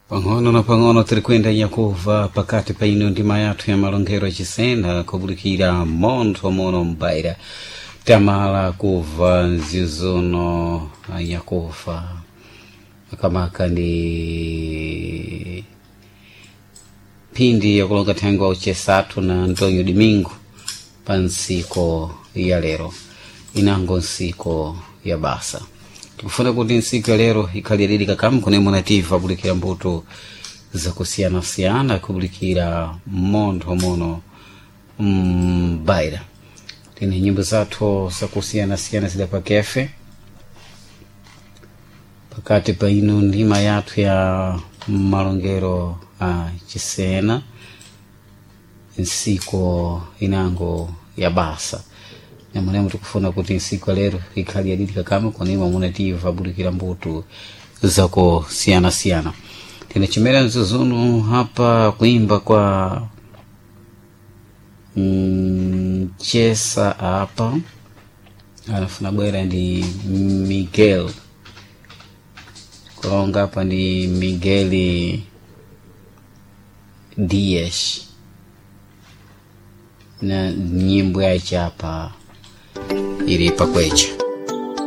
Pang'ono na pang'ono tiri kuyenda nyakuva pakati pa ino ndima yathu ya malongero achisena kubulikira montho mono mbaira tamala kuva nzizuno anyakufa makamaka ndi phindi yakulonga thengo uchesathu na Antonio Domingo pa ntsiko ya lero inango ntsiko ya basa. Tikufuna kuti ntsiku ya lero ikhalirire kakamu kunemwe nativa kubulikira mbuto zakusiyanasiyana kubulikira montho mono mbaira. Tine nyimbo zathu zakusiyanasiyana zida pakefe pakati pa ino ndima yathu ya malongero a chisena ntsiko inango ya basa. Namwenemo tikufuna kuti ntsiku ya lero ikhale yadidi kakama konema munativa bulikira mbuto zakusiyanasiyana. Tine chimera mzuzunu hapa kuimba kwa mchesa apa anafuna bwera ndi Miguel kulonga apa ndi Miguel Dias na nyimbo yache apa ili pakwecha.